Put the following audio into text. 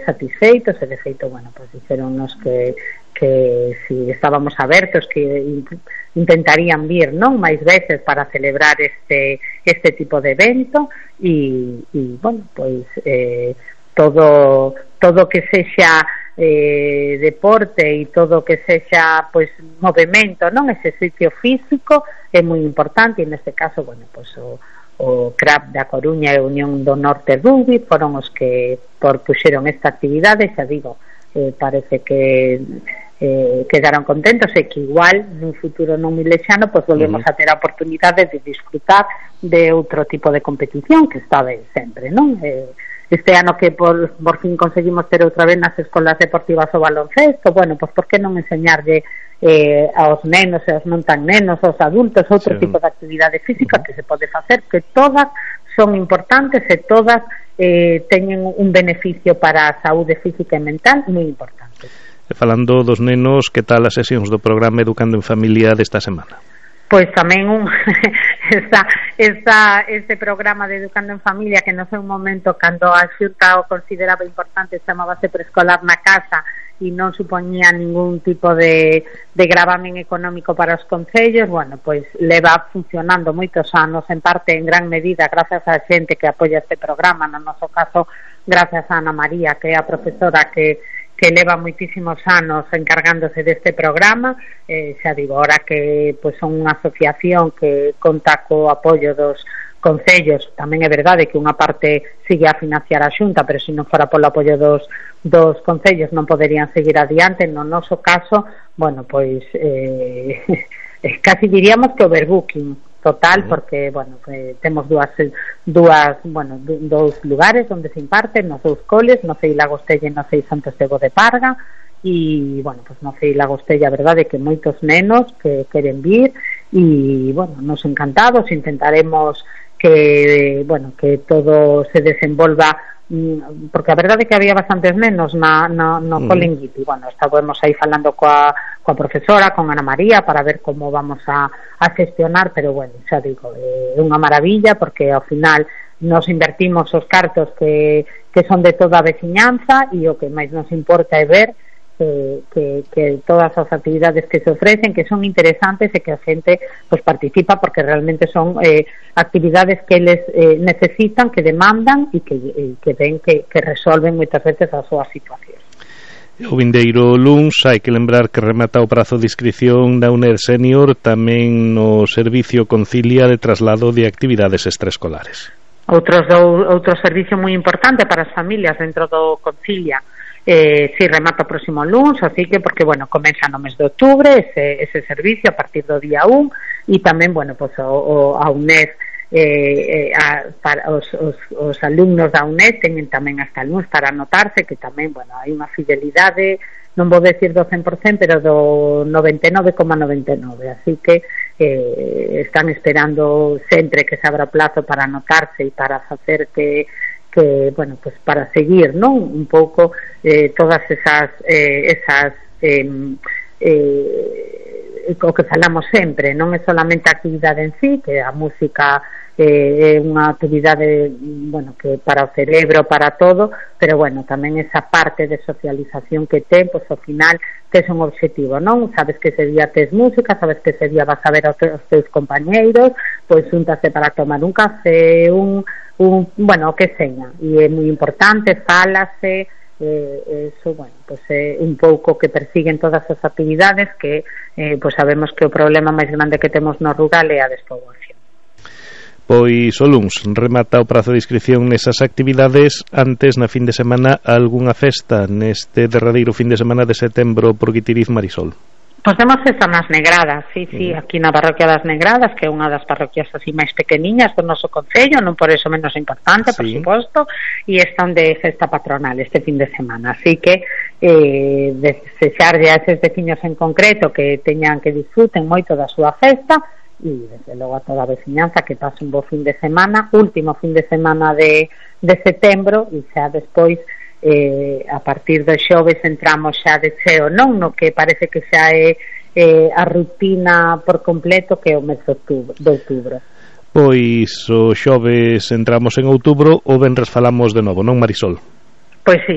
satisfeitos, e de feito, bueno, pues dixeronnos que si estábamos abertos, que intentarían vir, non, máis veces para celebrar este tipo de evento, e bueno, pois todo que sexa deporte e todo que sexa pois movimento, non, exercicio físico é moi importante, e neste caso, bueno, pois o CRAP da Coruña e a Unión do Norte Rugby foron os que puxeron esta actividade. Xa digo, parece que quedaron contentos, e que igual nun futuro non moi lexano pois volvemos a ter a oportunidade de disfrutar de outro tipo de competición, que está ben sempre, non? Este ano que por fin conseguimos ter outra vez nas escolas deportivas o baloncesto, bueno, pois por que non enseñarlle aos nenos e aos non tan nenos, aos adultos, outro tipo de actividade física que se pode facer, que todas son importantes e todas teñen un beneficio para a saúde física e mental moi importante. E falando dos nenos, que tal as sesións do programa Educando en Familia desta semana? Pois tamén este programa de Educando en Familia, que no sei un momento cando a Xunta o consideraba importante, chamábase Preescolar na Casa, e non supoñía ningún tipo de gravamen económico para os concellos. Bueno, pois leva funcionando moitos anos, en parte en gran medida gracias á xente que apoia este programa, no noso caso gracias a Ana María, que é a profesora que leva moitísimos anos encargándose deste programa. Xa digo, ahora que pois son unha asociación que conta co apoio dos concellos, tamén é verdade que unha parte sigue a financiar a Xunta, pero se non fora polo apoio dos concellos non poderían seguir adiante. No noso caso, bueno, pois casi diríamos que overbooking total, porque, bueno, temos dous lugares onde se imparten, nos dous coles, no CEI Lagostella e no CEI Santo Estego de Parga, e, bueno, pues no CEI Lagostella, a verdade, que moitos nenos que queren vir, e, bueno, nos encantados, intentaremos que todo se desenvolva, porque a verdade é que había bastantes nenos no Colenguiti. Bueno, estábamos aí falando coa profesora, con Ana María, para ver como vamos a gestionar, pero bueno, xa digo, é unha maravilla, porque ao final nos invertimos os cartos que son de toda a veciñanza, e o que máis nos importa é ver que todas as actividades que se ofrecen, que son interesantes, e que a xente pues participa, porque realmente son actividades que eles necesitan, que demandan, e que ven que resolven moitas veces a súa situación. O vindeiro luns hai que lembrar que remata o prazo de inscripción da UNED Senior, tamén no servicio Concilia de traslado de actividades extraescolares. Outro servicio moi importante para as familias dentro do Concilia. Si remata o próximo luns, así que, porque, bueno, comeza no mes de outubro ese servicio a partir do día 1, e tamén, bueno, pues a UNED, para os alumnos da UNED teñen tamén hasta luns para anotarse, que tamén, bueno, hai unha fidelidade, non vou decir do 100%, pero do 99,99, así que están esperando sempre que se abra plazo para anotarse e para facer que bueno, pues para seguir, non, un pouco todas esas o que falamos sempre, non é solamente a actividade en sí, que a música é unha actividade, bueno, que para o cerebro, para todo, pero bueno, tamén esa parte de socialización que ten, pois ao final tes un objetivo, non? Sabes que ese día tes música, sabes que ese día vas a ver aos teus compañeiros, pois xúntase para tomar un café, bueno, o que seña, e é moi importante, fálase, eso, bueno, pues un pouco que persiguen todas as actividades, que pues sabemos que o problema máis grande que temos no rural é a despoboación. Pois o luns remata o prazo de inscripción nesas actividades. Antes, na fin de semana, algunha festa neste derradeiro fin de semana de setembro por Guitiriz, Marisol? Pois temos festa nas Negradas, sí, aquí na parroquia das Negradas, que é unha das parroquias así máis pequeniñas do noso concello, non por eso menos importante, por suposto, e están de festa patronal este fin de semana, así que desexarlle a eses veciños en concreto que teñan, que disfruten moito da súa festa, e desde logo a toda a veciñanza que pase un bo fin de semana, último fin de semana de setembro, e xa despois a partir do xoves entramos xa de cheo, non no que parece que xa é a rutina por completo, que é o mes de outubro. Pois o xoves entramos en outubro, o venres falamos de novo, non, Marisol? Pois si,